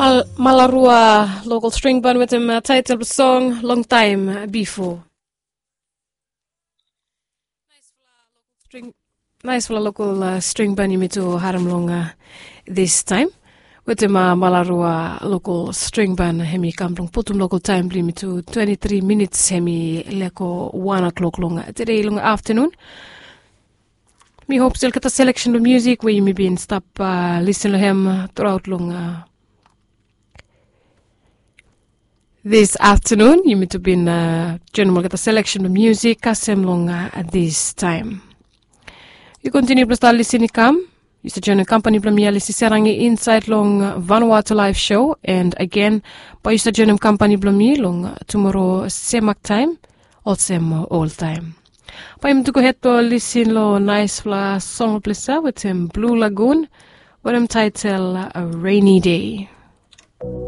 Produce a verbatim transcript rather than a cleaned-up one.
Malarua lokol string ban wetem taitel blong song long taim bifo. Naispela lokol string ban yumi tu harim long distaim wetem Malarua lokol string ban, hem i kam blong putum lokol taim blong yumi tu twenti tri minits, hem i leko wan o'clock long tede long aftanun. Mi hop stil olgeta seleksen blong musik we yumi bin stap lisin long hem truaot long dis aftanun. Yumi tu bin joinim olgeta seleksen blong musik kasem long distaim. Yu kontiniu blong stap lisin i kam. Yu stap joinim kampani blong mi, Alisi Serangi, insaed long Vanuatu Laev Show. And agen, bae yu stap joinim kampani blong mi long tumora semak taim olsem oltaim. Bae yumi tu gohed blong lisin long naispela song blong ples ya wetem Blue Lagoon, wetem taitel Rainy Day.